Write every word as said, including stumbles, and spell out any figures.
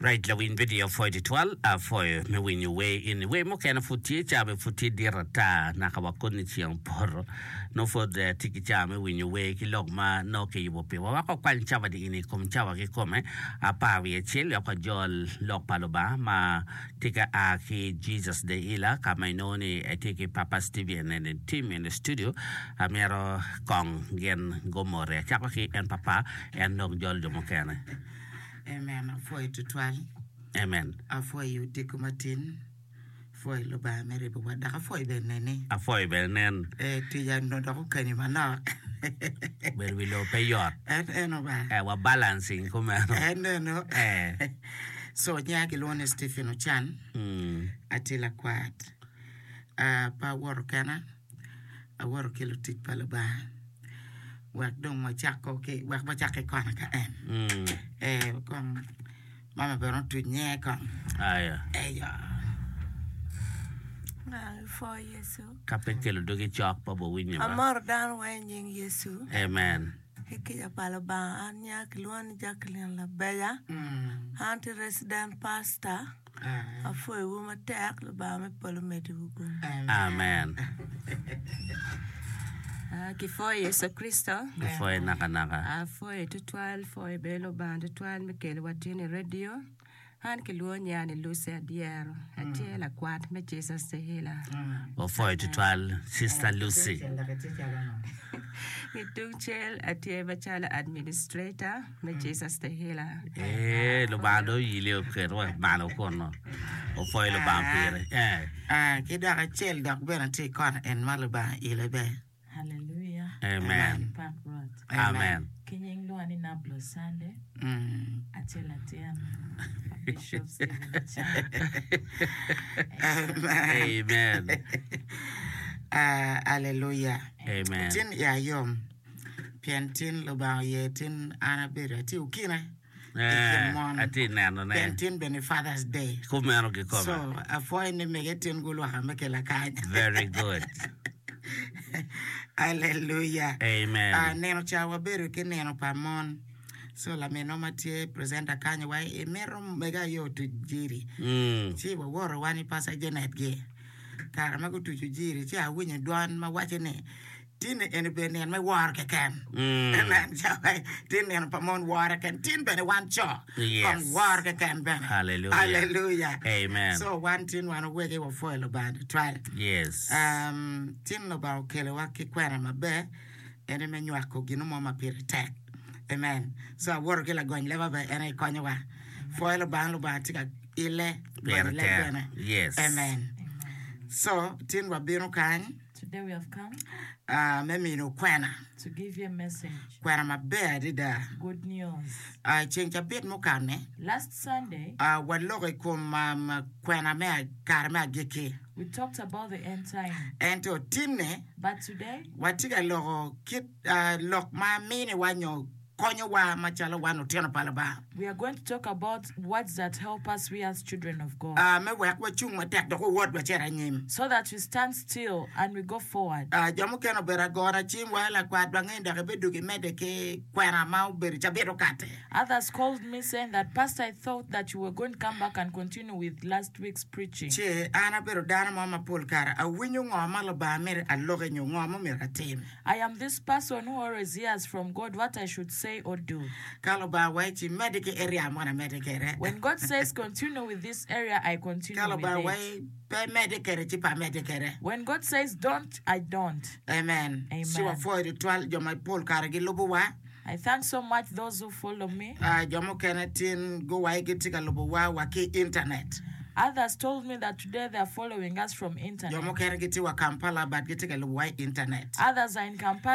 Right lawiny video apwoyo tutwal apwoyo me winyo wer eni wer mukene pud tye ca bene pud tye dit ata naka wa koni ceng opoto nongo pud tye ki ca me winyo wer ki lok ma nongo kiyubo piwa wek wakwany cawani eni i kom cawa kikome apar wiye acel wek wajol lok pa Lubanga ma tye ka a ki Jesus the Healer ka ma inongo ni etye ki Papa Steven and the team in the studio amito kong gin gumoti acako ki en papa en dong jol jo mukene. Amen apwoyo tutwal. Amen. Apwoyo odiko matin. Apwoyo Lubanga me ribowa dok apwoyo bene neni. Apwoyo bene nen. Eh, tic onongo dok okeni manok. Bedo wi lobo pe yot. En eno ba. Eh, wa balancing kumeno. En eno. Eh. So nyinga kilwongo ni Stephen Ocan. Mm. Atye lakwat. Ah, pe awoto kena. Awoto ki lutic pa Lubanga. Wek dong wacako ki wek wacak ki kona ka en. Mm. Eh, kong mama bene otuc nyinge kong. Aya. Eyo. Apwoyo Yecu. Ka pe kelo dogi cok pa bowinyo ba. Amoro dano weng i nying Yecu. Amen. Ki kica pa Lubanga an nyinga kilwongo ni Jacqueline Labeja. Mm. An tye resident pastor. Ah. Apwoyowu matek Lubanga me polo omeddiwu gum. Amen. Ah, Kipwoyo Yecu Kricito. Kipwoyo nakanaka. Apwoyo tutwal, pwoyo bene Lubanga tutwal me kelowa tin i radio. An kilwongo nyinga ni Lucy Adyero. Atye lakwat me Jesus the Healer. Wapwoyo tutwal Sister Lucy. Ki tung cel atye macalo administrator me Jesus the Healer. Eh, Lubanga dong oyili oketo wa malo kunu. Wapwoyo Lubanga pire. Eh. Ah, ki dok acel dok bene tye i kona en ma Lubanga ile be. Hallelujah. Amen. Pak Rwot. Amen. Ki nying lwonga ni Nablo Sunday. Mm. Atye latin pa Bishop Stephen Achan. Amen. Ah, Aleluya. Amen. Tin ya yom. Pien tin Lubanga oye tin an abedo atye okine. I kin Eh, mon. atye nenone. Pien tin bene Father's Day. Kumeno kikome. So, apwoyo ni mege tin gulwaka me kela kany. Very good. Aleluya. Amen. Ah, nino ca wabedo ki nino pa mon. So laminwa ma tye presenter kany wa imito mege aye otuc jiri. Mm. Ci wawoto wan i Pastor Janet gi. Kare ma gutuco jiri ci awinyo dwan ma waco ni tin eni obedo nino me woro keken. Mm. Amen. Tin nino pa mon woro keken. Tin bene wan co. Yes. Kong woro keken bene. Hallelujah. Hallelujah. Amen. So wan tin wan owege wapwoyo Lubanga tutwal. Yes. Um, tin Lubanga okelowa ki kwena maber ene me nywako gino mo ma pire tek. Amen. So awoto ki lagony leba bene en aye konyowa. Pwoyo Lubanga, Lubanga tye ka ile Pire gonyo leb tek. bene. Yes. Amen. So tin wabino kany Today we have come uh, me mino kwena. to give you a message. Kwena maber adada. Good news. Uh, ceng cabit mukane Last Sunday, uh, waloko i kom um, kwena me a- kare me agikki. we talked about the end time. Ento tinne But today, watye ka loko kit uh, lok ma miniwa nyo konyowa macalo wan otino pa Lubanga. we are going to talk about words that help us, we as children of God, Uh, me wek wacung matek dok wawot wacit anyim. so that we stand still and we go forward. Uh, jo mukene obedo agona cim wa lakwat wang'e dok ibedo kimedde ki kwena ma obedo cabit okate. Others called me saying that, Pastor, I thought that you were going to come back and continue with last week's preaching. Ci an abedo dano mo mapol kare awinyo ngo ma Lubanga mito aloki nyo ngo ma myero atim. I am this person who always hears from God what I should say or do. Ka Lubanga waci medde ki area mo na medde kwede. When God says continue with this area, I continue Ka with Lubanga it. waci pe medde kwede ci pe amedde kwede. When God says don't, I don't. Amen. Amen. Ci wapwoyo tutwal jo mapol kare gilubowa. I thank so much those who follow me. Uh, jo mukene tin guwaci gitye ka lubowa wa ki internet. Others told me that today they are following us from Jo internet. mukene gitye wa Kampala but gitye ka lubowa i internet. Others are in Kampala.